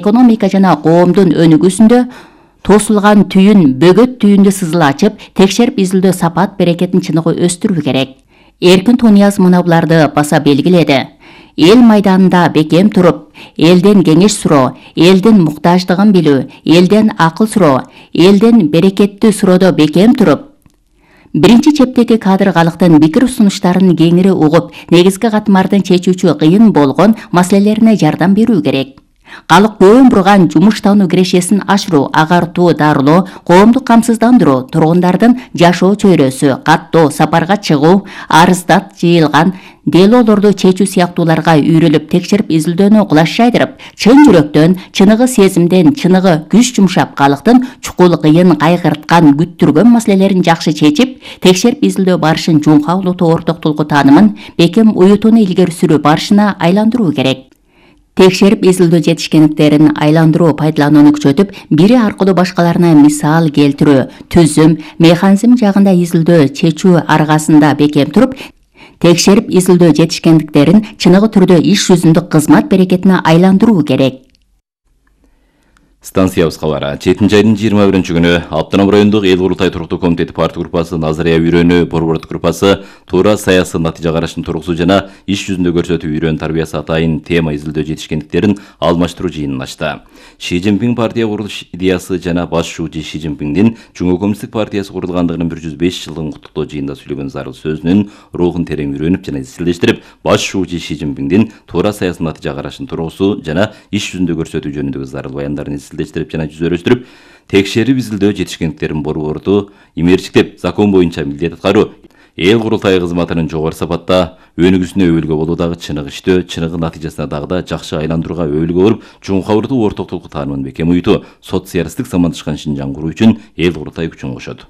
экономика жана коомдун өнүгүүсүндө тосулган түйүн бөгөт түйүндү сызыла ачып, текшерип изилдөө сапат берекетин чыныгы өстүрүү керек. Эркин Тунияз мына буларды баса белгиледи. Эл майданында бекем туруп, элден кеңеш суроо, элдин муктаждыгын билүү, элден акыл суроо, элден берекеттүү суроодо бекем туруп, биринчи чептеги кадр калктын пикир сунуштарын кеңири угуп, негизги катмардын чечүүчү кыйын болгон маселелерине жардам берүү керек. Калк көөн бурган жумуш табуу кирешесин ашыруу, агартуу, дарылоо, коомдук камсыздандыруу, тургундардын жашоо чөйрөсү, каттоо, сапарга чыгуу, арыздат жыйылган делоолорду чечүү сыяктууларга үйрөлүп, текшерип изилдөөнү кулаш жайдырып, чын жүрөктөн, чыныгы сезимден, чыныгы күч жумшап, калктын чукул, кыйын, кайгырткан, күттүргөн маселелерин жакшы чечип, текшерип изилдөө барышын жумка улутуу орток толку таанымын бекем уютууну илгери сүрүү барышына айландыруу керек. Текшерип изилдөө жетишкендиктерин айландыруу, пайдаланууну күчөтүп, бири аркылуу башкаларына мисал келтирүү, түзүм, механизм жагында изилдөө чечүү аргасында бекем туруп, текшерип изилдөө жетишкендиктерин чыныгы түрдө иш жүзүндө кызмат берекетине айландыруу керек. Станциябыз кабары. 7 айдын 21-күнү Автоном райондук эл курултай туруктуу комитети партия группасы, Назария үйрөнүү борбордук группасы туура саясий натыйжа карашын тургусу жана иш жүзүндө көрсөтүү үйрөн тарбиясы атайын тема изилдөө жетишкендиктерин алмаштыруу жыйынын ачты. Ши Цзиньпин партия курулуш идеясы жана баш шууучу Ши Цзиньпиндин Жуму коммунисттик партиясы курулгандыгынын 105 жылдыгын куттуктоо жыйында сүйлөгөн зарыл сөзүнүн рухун терең үйрөнүп жана изилдештирип, баш шууучу Ши Цзиньпиндин туура саясий натыйжа карашын тургусу жана иш жүзүндө көрсөтүү жөнүндөгү зарыл баяндарын изилдештирип жана жүзөрөштүрүп, текшерип изилдөө жетишкендиктерин борборду имерчиктеп, закон боюнча милдет аткаруу, эл курултайы кызматынын жогору сапатта өнүгүүсүнө өбөлгө болуу дагы чыныгы иштөө, чыныгы натыйжасына дагы да жакшы айландырууга өбөлгө болуп, чуңкавырдуу орток толку таанымын бекем уютуу, социалисттик замандашкан Шинжаң куруу үчүн эл курултай күчүн кошот.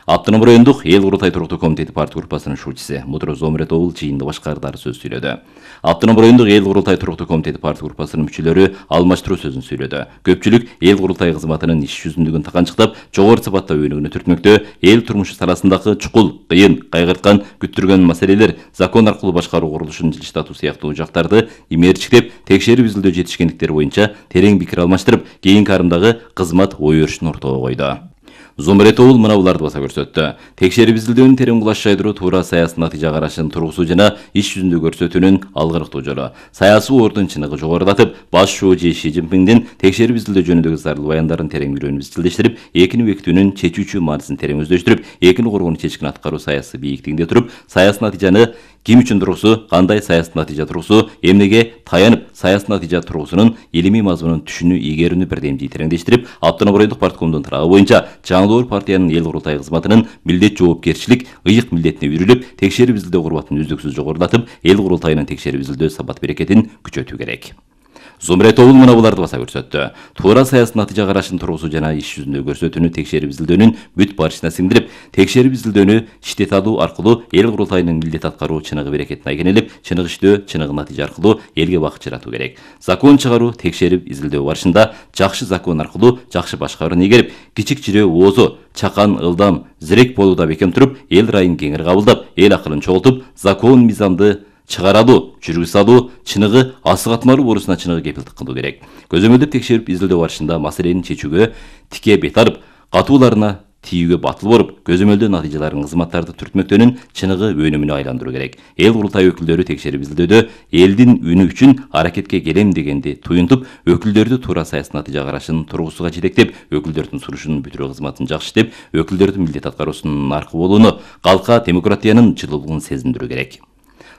Автоном райондук эл курултай туруктуу комитети партия группасынын шуучусу Мутур Зомуретовул жыйында башкардары сөз сүйлөдү. Автоном райондук эл курултай туруктуу комитети партия группасынын мүчөлөрү алмаштыруу сөзүн сүйлөдү. Көпчүлүк эл курултай кызматынын иш жүзүндүгүн таканчыктап, жогору сапатта өнүгүүнү түртмөктө, эл турмушу саласындагы чукул, кыйын, кайгырткан, күттүргөн маселелер, закон аркылуу башкаруу курулушун жылыштатуу сыяктуу жактарды имерчиктеп, текшерип изилдөө жетишкендиктер боюнча терең пикир алмаштырып, кийинки арымдагы кызмат ой өрүшүн ортого койду. Зомуретовул мына буларды баса көрсөттү. Текшерип изилдөөнүн терең кулаш жайдыруу туура саясий натыйжа карашын тургусу жана иш жүзүндө көрсөтүүнүн алгырыктуу жолу. Саясий ордун чыныгы жогорулатып, баш шүүчү Ши Цзиньпиндин текшерип изилдөө жөнүндөгү зарыл баяндарын терең үйрөнүп изилдештирип, экини бекитүүнүн чечүүчү маанисин терең өздөштүрүп, экини коргонуу чечкин аткаруу саясий бийиктигинде туруп, саясий натыйжаны ким үчүн тургусу, кандай саясий натыйжа тургусу, эмнеге таянып, саясий натыйжа тургусунун илимий мазмунун түшүнүү ийгерүүнү бирдемдей тереңдештирип, Автоном райондук парткомдун тарабы боюнча Жаңылоор партиянын эл курултай кызматынын милдет жоопкерчилик, ыйык милдетине үйрүлүп, текшерип изилдөө курбатын үздүксүз жогорулатып, эл курултайынын текшерип изилдөө сапат берекетин күчөтүү керек. Зомуретовул мына буларды баса көрсөттү. Туура саясий натыйжа карашын тургусу жана иш жүзүндө көрсөтүүнү текшерип изилдөөнүн бүт барышына сиңдирип, текшерип изилдөөнү иштете алуу аркылуу эл курултайынын милдет аткаруу чыныгы берекетин айкенелеп, чыныгы иштөө, чыныгы натыйжа аркылуу элге бакыт жаратуу керек. Закон чыгаруу, текшерип изилдөө барышында жакшы закон аркылуу жакшы башкарууну ийгерип, кичик жирөө оозу, чакан, ылдам, зирек болууда бекем туруп, эл райын кеңири кабылдап, эл акылын чогултуп, закон мыйзамды чыгаралуу, жүргүз салуу, чыныгы асыгатмалуу борусуна чыныгы кепилдик кылуу керек. Көзөмөлдөп текшерип изилдөө барышында маселени чечүүгө тике бет алып, катууларына тийүүгө батыл болуп, көзөмөлдөө натыйжаларын кызматтарды түртмөктөөнүн чыныгы өнүмүнө айландыруу керек. Эл курултай өкүлдөрү текшерип изилдөөдө элдин үнү үчүн аракетке келем дегенди туюнтуп, өкүлдөрдү туура саясий натыйжа карашын тургусуга жетектеп, өкүлдөрдүн сунушун бүтүрүү кызматын жакшы иштеп, өкүлдөрдүн милдет аткаруусунун наркы болууну, калкка демократиянын жылуулугун сезиндирүү керек.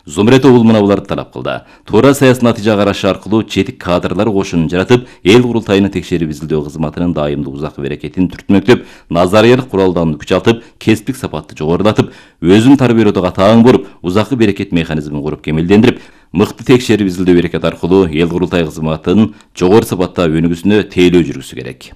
Зомуретовул мына буларды талап кылды. Туура саясий натыйжа карашы аркылуу четик кадрлар кошунун жаратып, эл курултайынын текшерип изилдөө кызматынын дайымдуу узак берекетин түртмөктөп, назариялык куралданууну күч алтып, кесиптик сапатты жогорулатып, өзүн тарбиялоодо катаң болуп, узакы берекет механизмин куруп кемелдендирип, мыкты текшерип изилдөө берекет аркылуу эл курултай кызматынын жогору сапатта өнүгүүсүнө тейлөө жүргүзүшү керек.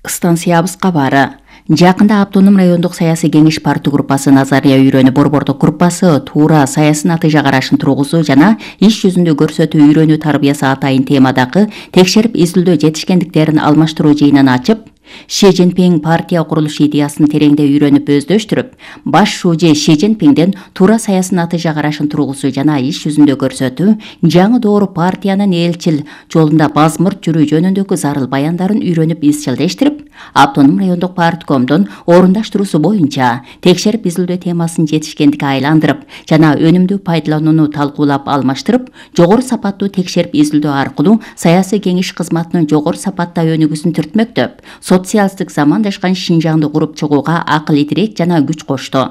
Станциябыз кабары. Жакында автоном райондук саясий кеңеш парты группасы Назария үйрөнү борбордук группасы туура саясий натыйжа карашын тургузуу жана иш жүзүндө көрсөтүү үйрөнүү тарбиясы атайын темадагы текшерип изилдөө жетишкендиктерин алмаштыруу жыйынын ачып, Ши Цзиньпин партия курулуш идеясын тереңде үйрөнүп өздөштүрүп, баш шужи Ши Цзиньпинден туура саясий натыйжа карашын тургузуу жана иш жүзүндө көрсөтүү, жаңы доору партиянын элчил жолунда базмырт жүрүү жөнүндөгү зарыл баяндарын үйрөнүп изчилдештирип, автоном райондук парткомдун орундаштыруусу боюнча текшерип изилдөө темасын жетишкендикке айландырып жана өнүмдүү пайдаланууну талкуулап алмаштырып, жогору сапаттуу текшерип изилдөө аркылуу саясий кеңеш кызматынын жогору сапатта өнүгүүсүн түртмөктөп, социалисттик замандашкан Шинжаңды куруп чыгууга акыл идирет жана күч кошту.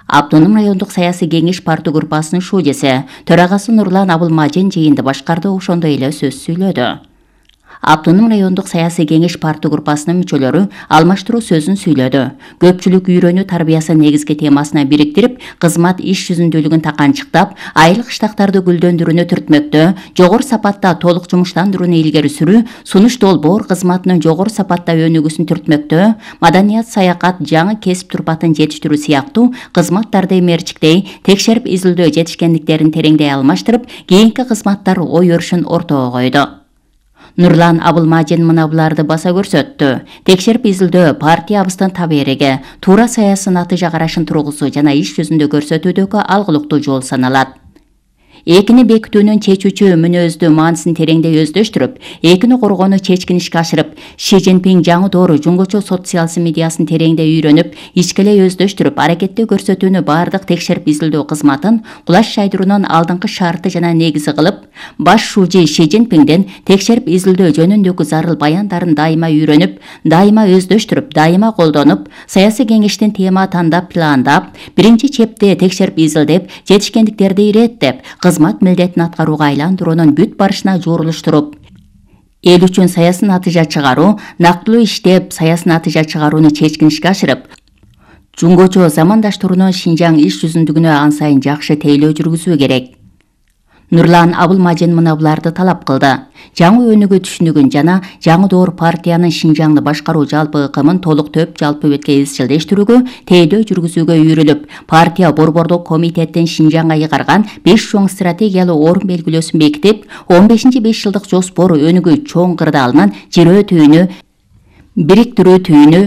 Автоном райондук саясий кеңеш парты группасынын шужиси, төрагасы Нурлан Абылмажин жыйынды башкарды, ошондой эле сөз сүйлөдү. Автоном райондук саясий кеңеш парты группасынын мүчөлөрү алмаштыруу сөзүн сүйлөдү. Көпчүлүк үйрөнүү тарбиясы негизги темасына бириктирип, кызмат иш жүзүндүүлүгүн таканчыктап, айылык штаттарды гүлдөндүрүүнү түртмөктө, жогору сапатта толук жумуштандырууну илгери сүрүү, сунуш долбоор кызматынын жогору сапатта өнүгүүсүн түртмөктө, маданият, саякат, жаңы кесип турпатын жетиштирүү сыяктуу кызматтарды мерчиктей, текшерип изилдөө жетишкендиктерин тереңдей алмаштырып, кийинки кызматтар ой өрүшүн ортого койду. Нурлан Абылмажин мына буларды баса көрсөттү. Текшерип изилдөө партиябыздын табериги, туура саясий натыйжа карашын тургузуу жана иш жүзүндө көрсөтүүдөгү алгылыктуу жол саналат. Экини бекитүүнүн чечүүчү мүнөздүү маанисин тереңдей өздөштүрүп, экини коргоону чечкинишке ашырып, Ши Цзиньпин жаңы доору жуңгучу социализм идеясын тереңдей үйрөнүп, ичкелей өздөштүрүп, аракетте көрсөтүүнү бардык текшерип изилдөө кызматын кулаш жайдыруунун алдыңкы шарты жана негизи кылып, баш шужи Ши Цзиньпинден текшерип изилдөө жөнүндөгү зарыл баяндарын дайыма үйрөнүп, дайыма өздөштүрүп, дайыма колдонуп, саясий кеңештин тема тандап, пландап, биринчи чепте текшерип изилдеп, жетишкендиктерди иреттеп, кызмат милдетин аткарууга айландыруунун бүт барышына жорулуштуруп, эл үчүн саясий натыйжа чыгаруу, нактылуу иштеп, саясий натыйжа чыгарууну чечкинишке ашырып, жуңгочу замандаштырууну Шинжаң иш жүзүндүгүнө ан сайын жакшы тейлөө жүргүзүү керек. Нурлан Абылмажин мына буларды талап кылды. Жаңы өнүгүү түшүнүгүн жана жаңы доору партиянын Шинжаңды башкаруу жалпы ыкымын толук төп жалпы бетке изчилдештирүүгө, тейлөө жүргүзүүгө үйрүлүп, партия борбордук комитеттин Шинжаңга ыйгарган 5 чоң стратегиялуу орун белгилөөсүн бекитип, 15-5 жылдык жоспор өнүгүү чоң кырдаалынын жирөө түйүнү, бириктирүү түйүнү,